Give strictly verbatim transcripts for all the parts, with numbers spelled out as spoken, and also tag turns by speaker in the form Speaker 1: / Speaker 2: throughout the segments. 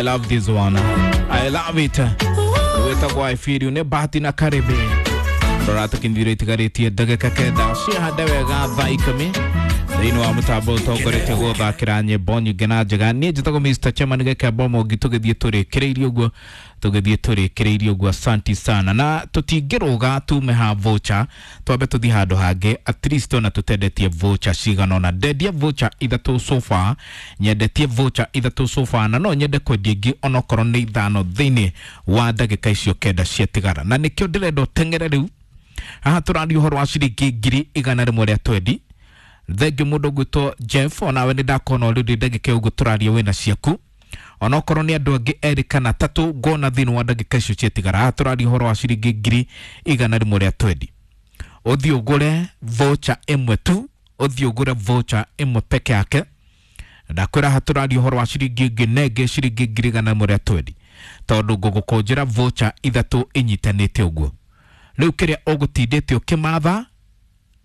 Speaker 1: I love this one, I love it. Wĩtagwo I feel you nĩ Bahati na Karibi. Rora tũkinyithire itigarĩtie ndagĩka kenda ciahande wega thaa ikũmi thĩinĩ wa mũtambo ũtongoretie gũthakĩra nyĩmbo nyingĩ na njega. Niĩ njĩtagwo Mister Chairman Gĩkembo Mũngi, tũgĩthiĩ tũrĩkĩrĩirie ũguo, tũgĩthiĩ tũrĩkĩrĩirie ũguo. Asanti sana, na tũtingĩrũga tume ha voucher, twambe tũthiĩ handũ hangĩ at least ona tũtendetie voucher cigana ũna. Ndendia voucher ithatũ so far, nyendetie voucher ithatũ so far, na no nyende kwendia ingĩ onokorwo nĩ ithano thĩinĩ wa ndagĩka icio kenda ciatigara, na nĩkĩo ndĩrenda ũteng'ere rĩu. Haha tũraria ũhoro wa ciringi ngiri igana rĩmwe rĩa twendi. Thengiũ mũndũ ũgwĩtwo Jeff, onawe nĩ ndakona already ndagĩka ũguo tũraria wĩna ciaku, onokorwo nĩ andũ angĩ erĩ kana tatũ ngona thĩinĩ wa ndagĩka icio ciatigara. Haha tũraria ũhoro wa ciringi ngiri igana rĩmwe rĩa twendi. Ũthiĩ ũgũre voucher ĩmwe tu, ũthiĩ ũgũre voucher ĩmwe peke yake. Ndakwĩra haha tũraria ũhoro wa ciringi ĩngĩ nenge ciringi ngiri igana rĩmwe rĩa twendi, tondũ ngũgũkũnjĩra voucher ithatũ inyitanĩte ũguo. Rĩu kĩrĩa ũgũtindĩte ũkĩmatha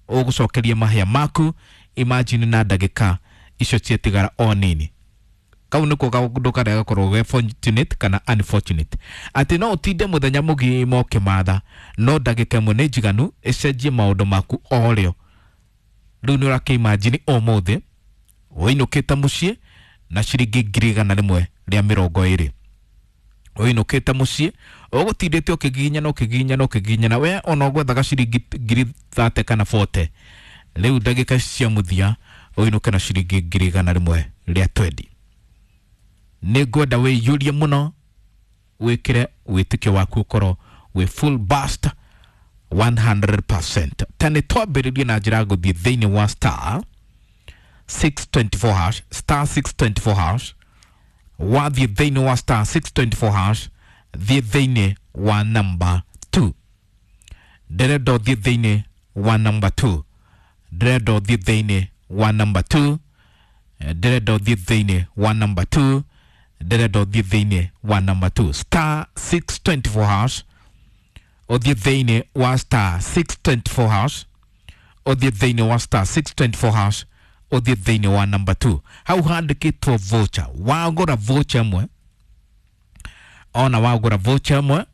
Speaker 1: ũgũcokeria mahĩa maku, imagine na ndagĩka icio ciatigara o nini. Kau nĩko kaũndũ karĩa gakoragwo ge fortunate kana unfortunate, atĩ no ũtinde mũthenya mũgima ũkĩmatha, no ndagĩka ĩmwe nĩ njiganu ĩcenjie maũndũ maku o rĩo. Rĩu nĩ ũrakĩimagine ũmũthĩ ũinũkĩte mũciĩ na ciringi ngiri igana rĩmwe rĩa mĩrongo ĩrĩ, ũinũkĩte mũciĩ ũgũtindĩte ũkĩgiginyana ũkĩgiginyana ũkĩgiginyana, we ona ũgwethaga ciringi ngiri thate kana bote. Rĩu ndagĩka cia mũthia ũinũke na ciringi ngiri igana rĩmwe rĩa twendi. Nĩ ngwenda wĩiyũrie mũno, wĩkĩre wĩtĩkio waku ũkorwo wĩ full burst one hundred percent. Ta nĩ twambĩrĩrie na njĩra ya gũthiĩ thĩinĩ wa star six twenty four hash, star six twenty four hash. Wathiĩ thĩinĩ wa star six twenty four hash, thiĩ thĩinĩ wa number two. Ndĩrenda ũthiĩ thĩinĩ wa number two, ndĩrenda ũthiĩ thĩinĩ wa number two, ndĩrenda ũthiĩ thĩinĩ wa number two, ndĩrenda ũthiĩ thĩinĩ wa number two. Star six twenty four hash, ũthiĩ thĩinĩ wa star six twenty four hash, ũthiĩ thĩinĩ wa star six twenty four hash, ũthiĩ thĩinĩ wa number two. Hau handĩkĩtwo voucher, wagũra voucher ĩmwe, ona wagũra voucher ĩmwe,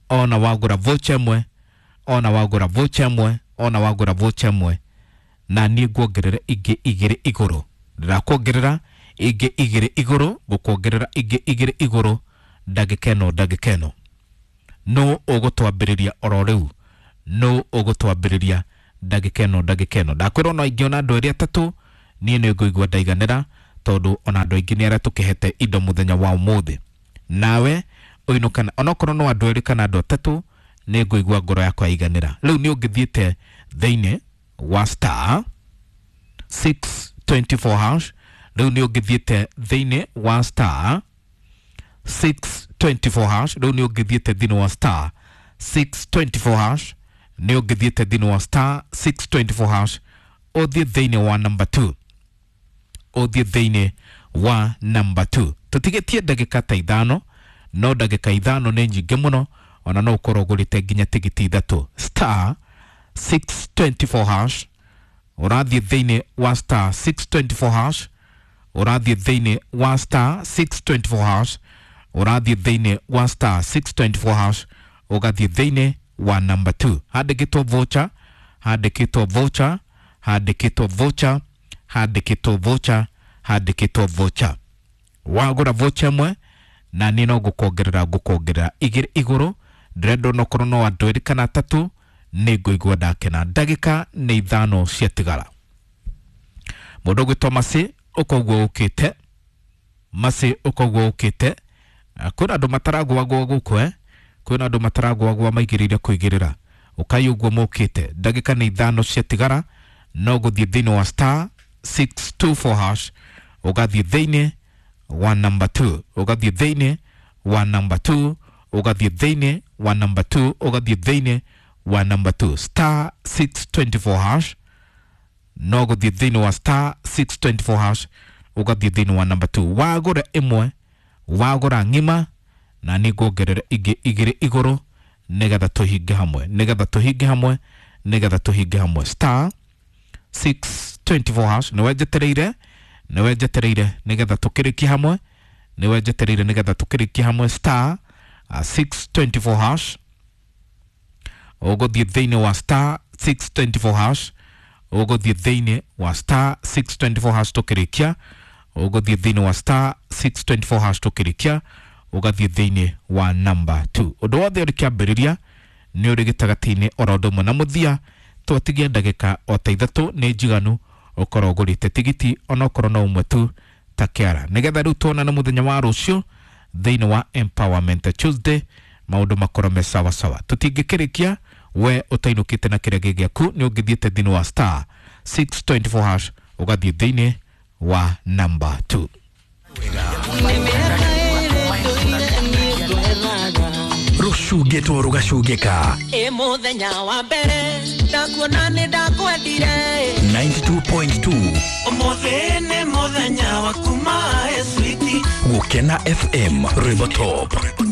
Speaker 1: ona wagũra voucher ĩmwe, ona wagũra voucher ĩmwe, ona wagũra voucher ĩmwe, na niĩ nguongerera ingĩ igĩrĩ igũrũ. Ndĩrakuongerera ingĩ igĩrĩ igũrũ, ngũkuongerera ingĩ igĩrĩ igũrũ ndagĩka ĩno, ndagĩka ĩno. No ũgũtwambĩrĩria oro rĩu, no ũgũtwambĩrĩria ndagĩka ĩno, ndagĩka ĩno. Ndakwĩra ona ingĩona andũ erĩ atatũ, niĩ nĩ ngũigua ndaiganĩra, tondũ ona andũ aingĩ nĩ arĩa tũkĩhete indo mũthenya wa ũmũthĩ. Nawe ũinũkana onokorwo no andũ erĩ kana andũ atatũ, nĩ ngũigua ngoro yakwa yaiganĩra. Rĩu nĩ ũngĩthiĩte thĩinĩ wa star six twenty four hash, rĩu nĩ ũngĩthiĩte thĩinĩ wa star six twenty four hash, rĩu nĩ ũngĩthiĩte thĩinĩ wa star six twenty four hash, nĩ ũngĩthiĩte thĩinĩ wa star six twenty four hash, ũthiĩ thĩinĩ wa number two, ũthiĩ thĩinĩ wa number two. Tũtigĩtie ndagĩka ta ithano, no ndagĩka ithano nĩ nyingĩ mũno, ona no ũkorwo ũgũrĩte nginya tigiti ithatũ. Star six twenty four hash, ũrathiĩ thĩinĩ wa star six twenty four hash, ũrathiĩ thĩinĩ wa star six twenty four hash, ũrathiĩ thĩinĩ wa star six twenty four hash, ũgathiĩ thĩinĩ wa number two. Handĩkĩtwo voucher, handĩkĩtwo voucher, handĩkĩtwo voucher, handĩkĩtwo voucher, handĩkĩtwo voucher. Wagũra voucher ĩmwe, na niĩ no ngũkuongerera, ngũkuongerera igĩrĩ igũrũ. Ndĩrenda onokorwo no andũ erĩ kana atatũ, nĩ ngũigua ndakena. Ndagĩka nĩ ithano ciatigara. Mũndũ ũgwĩtwo Mercy, ũkoguo ũkĩte. Mercy, ũkoguo ũkĩte. Kwĩna andũ mataragũagũa gũkũ, eh? Kwĩna andũ mataragũagũa maigĩrĩire kũigĩrĩra. Ũkai ũguo mũkĩte. Ndagĩka nĩ ithano ciatigara, no gũthiĩ thĩinĩ wa star six two four hash, ũgathiĩ thĩinĩ wa number two, ũgathiĩ thĩinĩ wa number two, ũgathiĩ thĩinĩ wa number two, ũgathiĩ thĩinĩ wa number two. Star six twenty four hash, no gũthiĩ thĩinĩ wa star six twenty four hash, ũgathiĩ thĩinĩ wa number two. Wagũra ĩmwe, wagũra ng'ima, na nĩ nguongerera ingĩ igĩrĩ igũrũ, nĩgetha tũhinge hamwe, nĩgetha tũhinge hamwe, nĩgetha tũhinge hamwe. Star six twenty four hash, nĩwe njetereire, nĩwe njetereire, nĩgetha tũkĩrĩkie hamwe, Nĩwe njetereire nĩgetha tũkĩrĩkie hamwe star uh, six twenty four hash. Ũgũthiĩ thĩinĩ wa star six twenty four hash, ũgũthiĩ thĩinĩ wa star six twenty four hash tũkĩrĩkia, ũgũthiĩ thĩinĩ wa star six twenty four hash tũkĩrĩkia, ũgathiĩ thĩinĩ wa number two. Ũndũ wothe ũrĩ kĩambĩrĩria nĩ ũrĩ gĩtagatĩ-inĩ oro ũndũ ũmwe na mũthia. Twatigia ndagĩka o ta ithatũ nĩ njiganu ũkorwo ũgũrĩte tigiti onokorwo no ũmwe tu ta kĩara, nĩgetha rĩu tuonane mũthenya wa rũciũ thĩinĩ wa Empowerment Tuesday, maũndũ makorwo me sawa sawa. Tũtingĩkĩrĩkia we ũtainũkĩte na kĩrĩa gĩ gĩaku, nĩ ũngĩthiĩte thĩinĩ wa star six twenty four hash ũgathiĩ thĩinĩ wa number two.
Speaker 2: Rũcungĩtwo rũgacungĩka.
Speaker 3: Ĩ mũthenya wa mbere ndakuona nĩ ndakwendire.
Speaker 2: ninety two point two.
Speaker 4: Ũmũthĩ nĩ mũthenya wa kuma, ĩ sweetie.
Speaker 2: Gũkena F M, rwĩmbo top.